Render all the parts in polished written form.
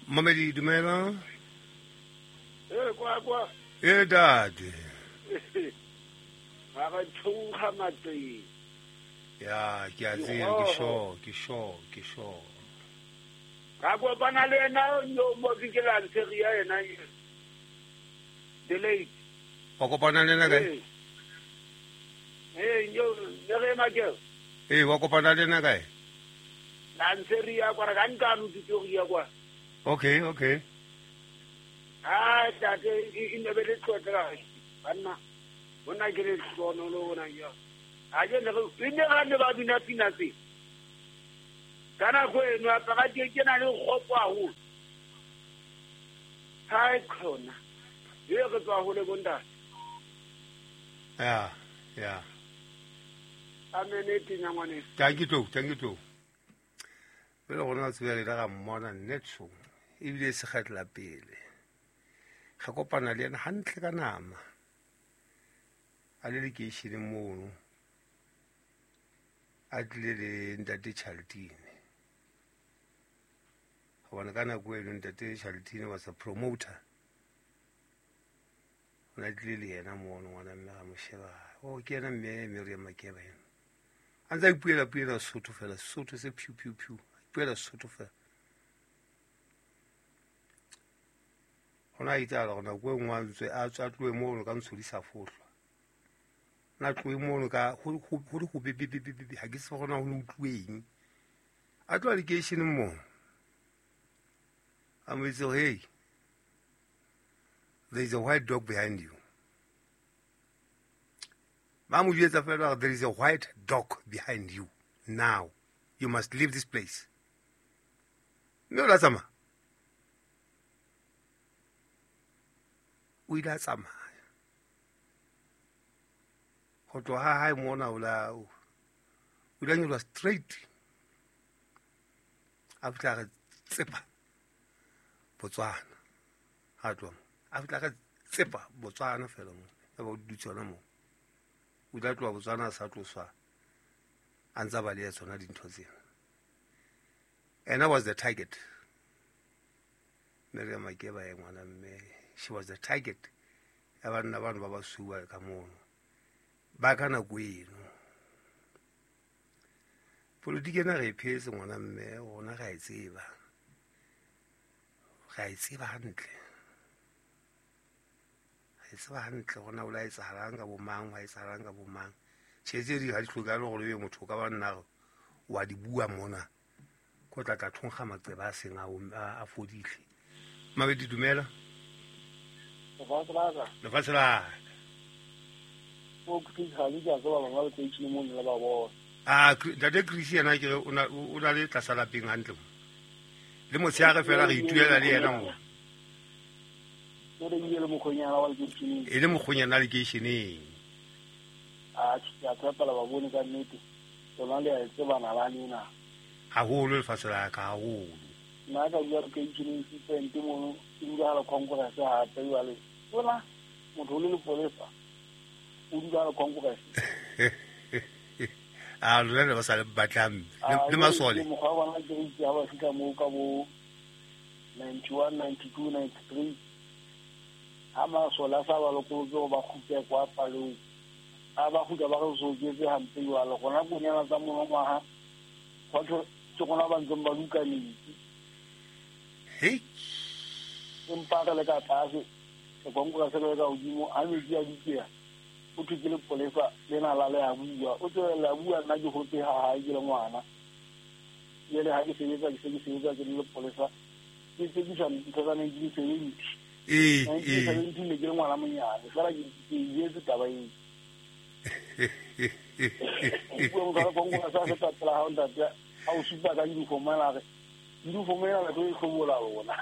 Mamedi dumela. Ee, kwa kwa. E date. Ga re tshonga matseng. Ya, ke a tseba, ke sure, ke sure, ke sure. Ka kopana le ena yo mo ke la ntsheria yena. The late. Wa kopana le ena kae? Ee, yo ne re ema ke. Ee, wa kopana le ena kae? La ntsheria kwa re ka nkano Pretoria kwa. Okay, okay. Ah, tate e ne be le tlotla banna. Bona ke le hlono lo bona yo. A je ne re ne ga ne ba bina pina tse. Ka nako eno a para ke ke na le kgopo haholo. Hai khona. E re tswa hole bontate. Ya, ya. Amen tinya ngwane. Thank you too, thank you too. Pele gona tsebe re ga mmona netso ebile se kgetla pele. Ga kopana le ena hantle ka nama. A le lekeisheneng mono. A tlile le ntate Charltine. Gobane ka nako eno ntate Charltine was a promoter. O ne a tlile le yena mono ngwana mme ga mo sheba. Oh, ke yena mme Miriam Makeba ena. A ntse a ipuela puela Sotho fela, Sotho se phew phew phew. Ipuela Sotho fela. Gona a itsala gore nako e nngwe a ntswe a tswa tloe mono ka ntsho di sa fohlwa. Na tloe mono ka go le go bebebebebe ga ke se gona go ne utlweng. A tloa lekeisheneng mo. A mo itse hey, there is a white dog behind you. Ba mo jwetsa fela gore there is a white dog behind you. Now, you must leave this place. Mme o la tsamaya. O ile a tsamaya. Go tloga ha hae mona o la o ile a nyoloha straight. A fihla re tsepa Botswana. Ha tloha mo. A fihla re tsepa Botswana fela mo. Ya ba o dutse hona moo. O ile a tloha Botswana a sa tloswa a ntsa ba le tsona dintho tsena. And that was the target. Miriam Makeba e ngwana mme she was the target ya banna bano ba basweu ka mono ba ka nako eno. Politiki ena re e phetse ngwana mme rona re a e tseba. Re a e tseba hantle. Re e tseba hantle gona o la etsahalang ka bo mang, wa etsahalang ka bo mang. Tjhe tse ding ha di hlokahale gore ebe motho o ka ba nna wa di bua mona. Ko tla tla thonkga maqeba a seng a fodile. Mabedi dumela. Lefatshe la ka. Lefatshe la ka. O Chris ha le ka tseba bana ba tse mo le ba bona. Ah, ntate Chris yena ke o na le tlasa lapeng hantle mo. Le motshehare fela re ituela le yena mo. O re ile le mokgonyana wa lekeisheneng. E le mokgonyana lekeisheneng. Ah, ke a tshepa ba bone ka nnete. Lona le a e tseba nalane ena. Haholo lefatshe la ka haholo. Nna ka bua lekeisheneng Sipente mono ke dula le Congress hape jwale. Bona motho o le lepolesa o dula le Congress. A lona le ba sa le batlang le masole. Mokgwa wa bona ke itse ha ba fihla moo ka bo 91, 92, 93. Ha masole a sa ba lokolotse go ba kgutle kwa palong. A ba kgutla ba re soketse hampe jwale. Gona konyana tsa monongwaha batho ke gona ba ntseng ba duka metsi. Hei. Empa re le ka tlase, re Congress le ka hodimo, ha metsi a dutseha, o thwe ke lepolesa lena la le a bua. O tswella le a bua, nna ke hotse ha hae ke le ngwana. Jwale ha ke sebetsa, ke se ke sebetsa ke le lepolesa. Ke tsekisa ntho tsa 1970. Ee, ee. 1970 ne ke le ngwana monyane, fela ke jetse taba eo. O bua motho a Congress a feta pela hao ntate, a o supa ka uniform ena a re, uniform ena le tlo e hlobola lona.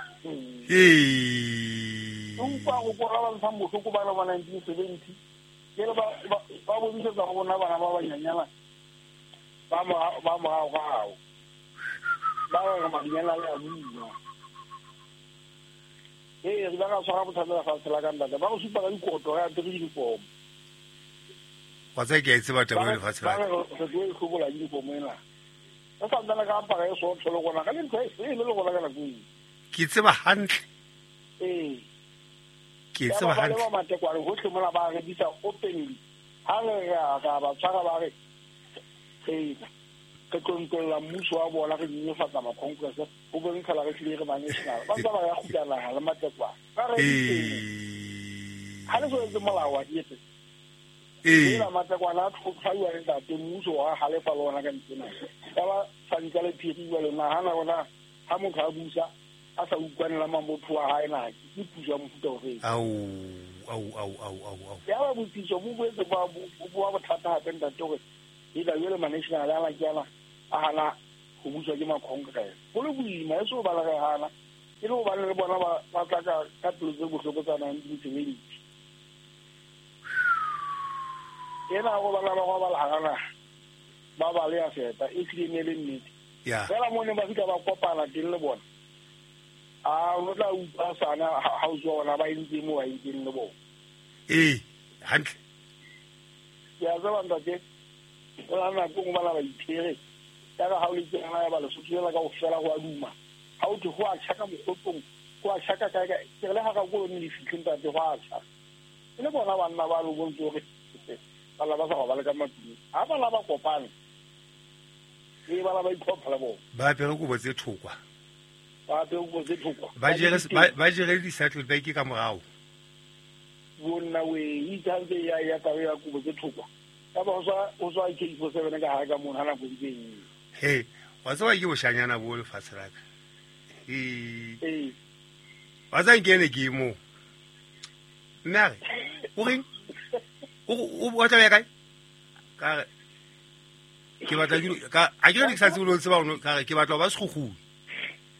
Ee. Empa go kora ba ntshang bohloko ba le ba 1970. Ke le ba bonisetsa go bona bana ba banyanyana ba morao. Ba re madinyana le a bua. Ee, re ba ka tshwara bothata lefatshe la ka ntate. Ba go supa ka dikoto re apere uniform. Wa tseba ke a e tseba taba eo lefatshe la ka. Ba re re tlo e hlobola uniform ena. Re sa ntsane ka apara e sootho le rona, ka le ntho e sele le rona ka nako eo. Ke tseba hantle. Ee. Ke tseba hantle. Ba matekwane hohle mona ba rekisa openly. Ha re ra ba tshwara ba re re re tlontlolla mmuso wa bona, re nyenyefatsa ma-congress ho bontsha la re hlile re ba national. Ba ntse ba ya kgutla naha le matekwane. Ba re ha le so etse molao wa etse. Ee. Ela matekwane a tshwaiwa le ntate mmuso wa halefa le ona ka ntsena. Ya ba santsa le phiri jwale nahana hore ha motho a busa a sa utlwane le mabotho wa hae na ke puso ya mofuta o feng. Au au au au au au. Ya ba botsitso bo boetse ba bo bothata hape ntate hore e la jwale ma-national a ke ana a hana ho buswa ke ma-congress. Ho le boima e so ba le re hana e le hobane le bona ba tla ka pelo tse bohloko tsa 1970. Ena go bala ba go bala hara naha ba ba le ya feta e hlile ne le nnete. Fela mo ne ba fihla ba kopana teng le bona. A o tla utlwa sana ha o tswa bona ba entse mo ba entseng le bona. Ee, hantle. Ke a tseba ntate, o la nako nngwe bana ba iphere. Ya ka ha o le tsena ya ba Lesotho ela kaofela ho a duma. Ha o thwe ho a tjha ka mokgotlong, ho a tjha ka kae kae. Ke re le hara koloi le fihle ntate ho a tjha. E le bona banna ba lo bontse hore bana ba sa robale ka matlung. Ha bana ba kopane, e bana ba itlhopha le bona. Ba apere kobo tse thokwa. Ba apere kobo tse thokwa. Ba jere di-saddle bag ka morao. Bonna we, itse ha ntse ya ya taba ya kobo tse thokwa. Ya ba ho tswa AK47 ka hare ka mona ha nako ntse e. He, wa tseba ke boshanyana bo lefatshe la ka. Ee. Wa tseba ke ene ke mo. Mme a re, o reng? O batla ho ya kae? Ka re ke batla ke ka a ke re ke sa tsebe lo tseba ono ka re ke batla ho ba sekgukguni.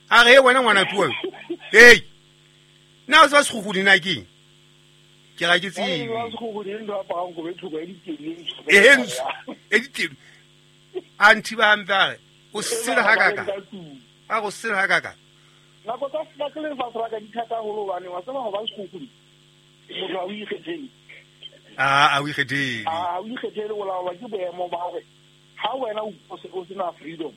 A re wena ngwana tuwa. Hey. Na o tseba sekgukguni na keng? Ke ra ke tsebe. E ntsho. E ditedu. A nthiba hampe a re o sele ha kaka. A go sele ha kaka. Nako tsa se le lefatshe la ka di thata haholo hobane wa tseba ho ba sekgukguni. Motho ha o ikgethele. A o ikgethele. A o ikgethele o laolwa ke boemo ba hore ha wena o sena freedom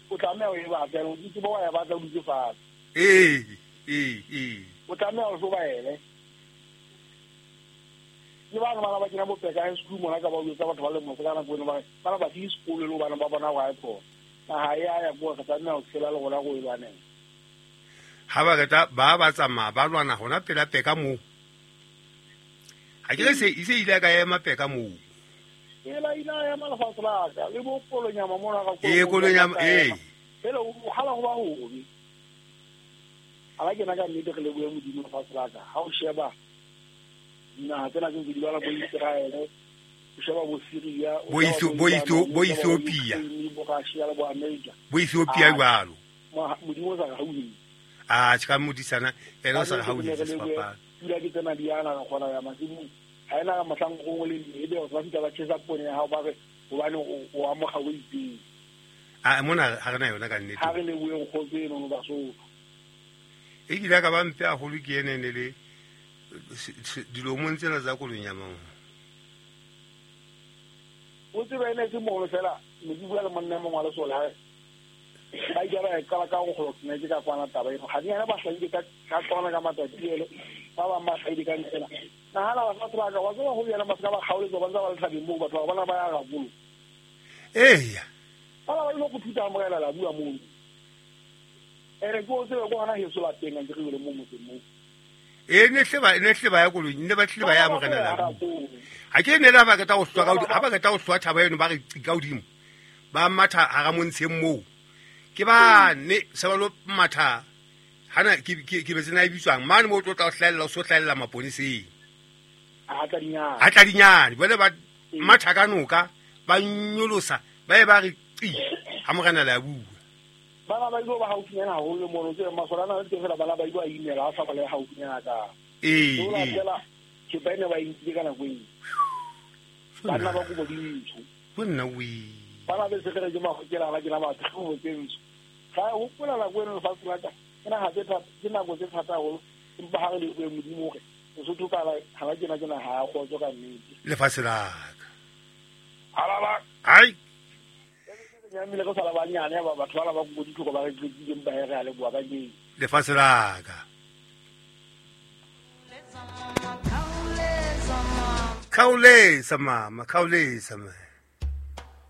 o tlameha o e batla, o ke tsebe wa e batla o dutse fatshe. Ee. O tlameha o hlobaele. Le bana bana ba kena bopeka high school mona ka ba o etsa batho ba le mose ka nako eno ba bana ba fihle sekolo le hobane ba bona hore ha e khona. Naha e a ya ko re tlameha ho tshela le rona go e lwanela. Ha ba qeta ba tsamaya ba lwana hona pela peka moo. Ha ke re se ise ile ka ema peka moo. Ela ina ema lefatshe la ka le bo kolonyama mona ka Ee, kolonyama ee. Fela o hala ho ba hobe. Ala ke na ka nnete re lebohe Modimo lefatshe la ka. Ha o sheba dinaha tsena tse di bala bo Israel, o sheba bo Syria, bo Ethiopia, bo Russia le bo America. Bo Ethiopia jwalo. Modimo o sa re hauhele. A tjha modisana ena o sa re hauhele sefapano. Pula ke tsena di ana re kgona ya masimong. Ha ena mohlang o le ebe o sa fihla ba tjhesa poone ya hao ba re hobane o amoga o itseng. A mona ha re na yona ka nnete. Ha re lebohe kgotso eno no Basotho. E kile ka ba mpe haholo ke ene ne le dilomong tsena tsa kolonyama. O tseba ene ke mono fela ne ke bua le monna mongwe wa lesole ha ba ile ba qala ka go kgolo ne ke ka kwana taba eno. Ga di yana ba hlaile ka tsona ka matsatsi ele ba bang ba hlaile ka ntsena. Nahana ba sa ka wa tseba ho yena ba ska ba kgaoletsa ba ntse ba le thabeng moo batho ba bona ba ya gabolo. Eya. Bana ba ile go thuta amogela la bua moo. Ere ke o tsebe go hona heso la teng ke re le mo motseng moo. E ne hle ba ya koloi, ne ba tle ba ya amogela la bua. Ha ke ne la ba qeta ho hlwa ka ha ba qeta ho hlwa thaba eno ba re ka hodimo. Ba matha hara montsheng moo. Ke ba ne se ba lo matha hana ke betse na e bitswang mane mo tlo tla hlahella o so hlahella maponeseng. A tladinyane jwale ba matha ka noka ba nyolosa ba e ba re qi ha morena la bua. Bana ba ile ba haufinyana haholo mono tse masole ana le teng fela bana ba ile ba imela a sa ba le haufinyana ka. Ee. Fela ke ba ne ba intile ka nako eo. Bana ba kobo dintsho. Bonna we. Bana be se re ke magokela la ke la batho go tse ntsho. Ga hopola nako eno lefatshe la ka. Ke naha tse thata, ke nako tse thata haholo empa ha re lebohe Modimo hore Lesotho ka ha ke na ke naha ya kgotso ka nnete. Lefatshe la ka. Halala. Ai. Ke nyamile go sala banyane ba batho ba ba go ditlhoko ba re tlikileng ba re a leboha ka keng. Lefatshe la ka. Khaolesa mama, khaolesa man.